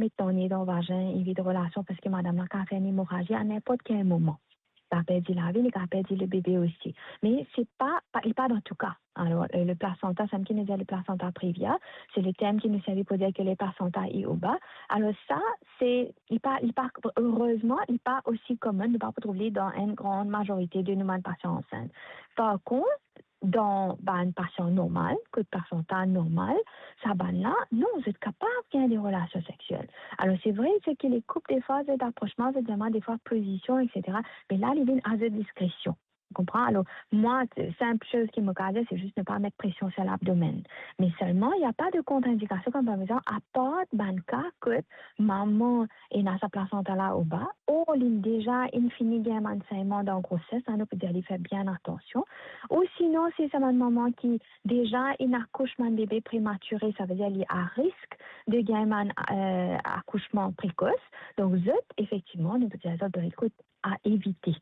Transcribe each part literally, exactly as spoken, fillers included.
met to ne dan vazin, evit relasion, parski madam la kapav fer enn emorazi a ninport kel moman. Li kapav perdi lavi, li kapav perdi lebebe osi. Me se pa, pa, li pa dan tou ka. Alor, euh, le placenta, sa ki nou dir le placenta previa, se le term ki nou servi pou dir ke le placenta est au bas. Alor sa, se, li pa, li pa, erezman, li pa osi komin, nou pa pou trouv li dan enn gran mazorite de nou bann pasian ansint. Par kont, dan bann pasian normal, kot placenta normal, sa bann la, non, zot kapav gagn de relasion seksiel. Alor, se vre, se ki le koup, defwa, zot aprosman, zot vremem, defwa, pozision, et cetera. Me la, li vinn a zot diskresion. Ou konpran? Alor, mwa, sinp soz ki mo kapav dir, se zis ne pa met presion sur labdomen. Me selman, il y a pas de contre-indication, kouma par exanp, apar bann ka kot mama ena sa placenta la au bas, o li deza inn fini gagn bann segnman dan groses, sa nou pou dir li fer bien atansion. Ou sinon, si se bann mama ki deza inn akous bann bebe prematire, savedir li a risk de gagn bann, euh, akousman prekos. Donk, zot, efektivman, nou pou dir zot, be, ekout, a evite.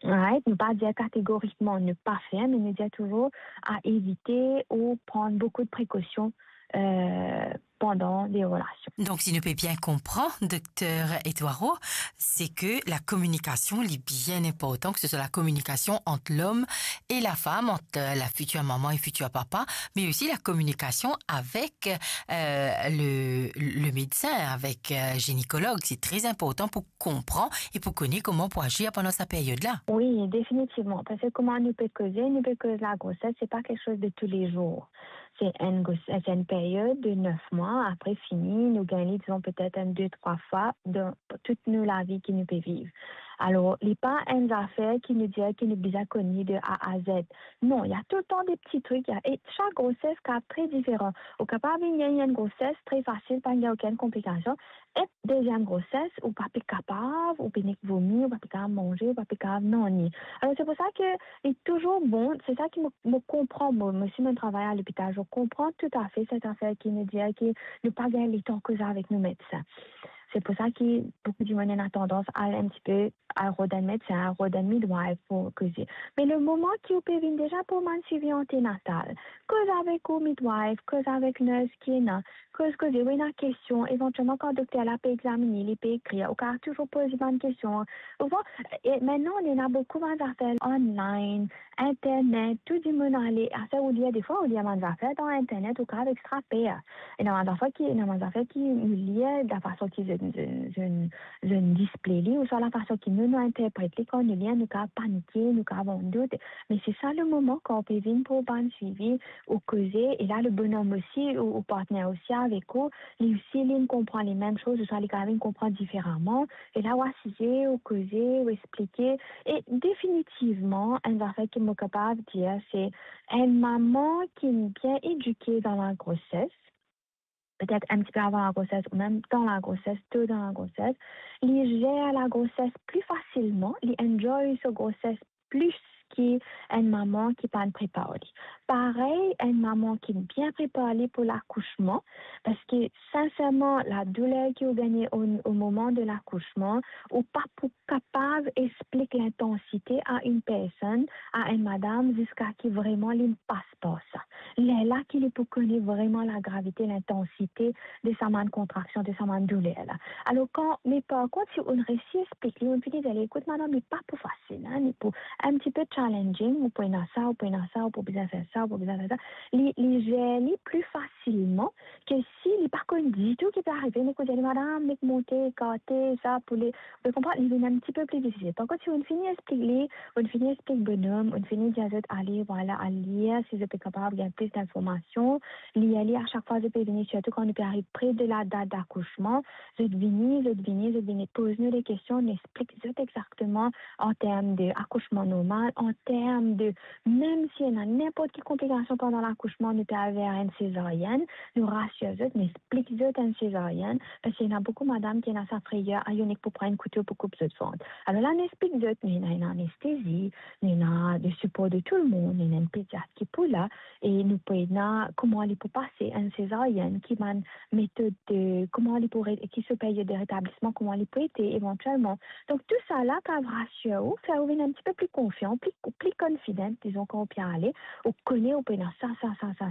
Right? Nou pa dir kategorikman ne pa fer, me nou dir touzour a evite ou pran boukou de prekosion, euh, pandan de relasion. Donk, si nou pe bien konpran, Dokter Edouard, se ke la kominikasion, li bien inportan, ke se swa la kominikasion ant lom e lafam, ant, euh, la fitir mama e fitir papa, me osi la kominikasion avek, euh, le, le medsin, avek, euh, ginekolog. Se tre inportan pou konpran e pou kone kouma pou azir pandan sa period la. Wi, definitivman. Parski kouma nou pe koze, nou pe koz lagroses, se pa kiksoz de toulezour. Se enn gros-, se enn period de nef mwa, apre fini, nou gagn li, dizon, petet enn de, trwa fwa dan tout nou lavi ki nou pe viv. Alor, li pa enn zafer ki nou dir ki nou bizin konn li de A a Z. Non, il y a toultan de pti trik, il y a, e sak groses kapav tre diferan. Ou kapav vinn gagn enn groses tre fasil, pa gagn okenn konplikasion. E deziem groses, ou pa pe kapav, ou pe nek vomi, ou pa pe kapav manze, ou pa pe kapav nanye. Alor, se pou sa ke li touzour bon, se sa ki mo, mo konpran, mo, mo si mo travay a lopital, mo konpran toutafe set zafer ki nou dir ki nou pa gagn letan koze avek nou medsin. Se pou sa ki boukou dimoun ena tandans al enn tipe al rod enn medsin, al rod enn midwife pou koze. Me le moman ki ou pe vinn deza pou bann swivi antenatal, koz avek ou midwife, koz avek nurse ki ena, koz, koze, ou ena kestion, evantielman kan dokter la pe examine, li pe ekrir, ou kapav touzour poz li bann kestion. Ou konpran? E mintnan, nou ena boukou bann zafer online, internet, tou dimoun ale, aster ou lir, defwa ou lir bann zafer dan internet, ou kapav extra per. Ena bann zafer ki, ena bann zafer ki nou lir, lafason ki zot, zot, zot, zot display li, ouswa lafason ki nou, nou interpret li, kan nou lir, nou kapav panike, nou kapav andout. Me se sa le moman kan ou pe vinn pou bann swivi, ou koze, e la le bonom osi, ou, ou partner osi avek ou, li osi, li konpran lemem soz, ouswa li kapav vinn konpran diferaman, e la ou asize, ou koze, ou explike, e definitivman, enn zafer ki mo kapav dir, se enn mama ki bien edike dan lagroses, petet enn tipe avan lagroses ou mem dan lagroses, to dan lagroses, li zer lagroses pli fasilman, li enjoy so groses plis ki enn mama ki pa'nn prepar li. Parey, enn mama ki bien prepar li pou lakousman, parski sinserman, ladouler ki ou gagne o, o moman de lakousman, ou pa pou kapav explik lintansite a enn personn, a enn madam, ziska ki vreman li pas par sa. Lerla ki li pou kone vreman lagravite, lintansite de sa bann kontraksion, de sa bann douler la. Alor, kan, me par kont, si ou resi explik li, ou fini dir li, ekout, madam, li pa pou fasil, hein, li pou enn tipe challenging, ou pou ena sa, ou pou ena sa, ou pou bizin fer sa, ou pou bizin fer sa. Li, li zer li pli fasilman ke si li pa konn ditou ki pe arive, li koz li, madam, nek monte, ekarte, sa, pou li, ou konpran, li vinn enn tipe pli difisil. Par kont, si ou fini explik li, ou fini explik bonom, ou fini dir zot, ale, vwala, al lir, si zot pe kapav gagn plis linformasion, lir li a sak fwa zot pe vini, sirtou kan nou pe ariv pre de la dat dakousman, zot vini, zot vini, zot vini poz nou de kestion, nou explik zot exakteman an term de akousman normal, an term de, mem si ena ninport ki konplikasion pandan lakousman, nou pe al ver enn sezaryenn, nou rasir zot, nou explik zot enn sezaryenn, parski ena boukou madam ki ena sa freyer, a, nek pou pran enn kouto pou koup zot vant. Alor la, nou explik zot, nou ena, ena anestezi, nou ena le sipor de tou lemonn, nou ena enn pediat ki pou la, e nou pou ena kouma li pou pase enn sezaryenn, ki bann metod de, kouma li pou re-, ki so period de retablisman, kouma li pou ete evantielman. Donk, tou sa la kapav rasir ou, fer ou vinn enn tipe pli konfian, pli, pli confident, dizon, kan ou pe ale, ou kone ou pou ena sa, sa, sa, sa,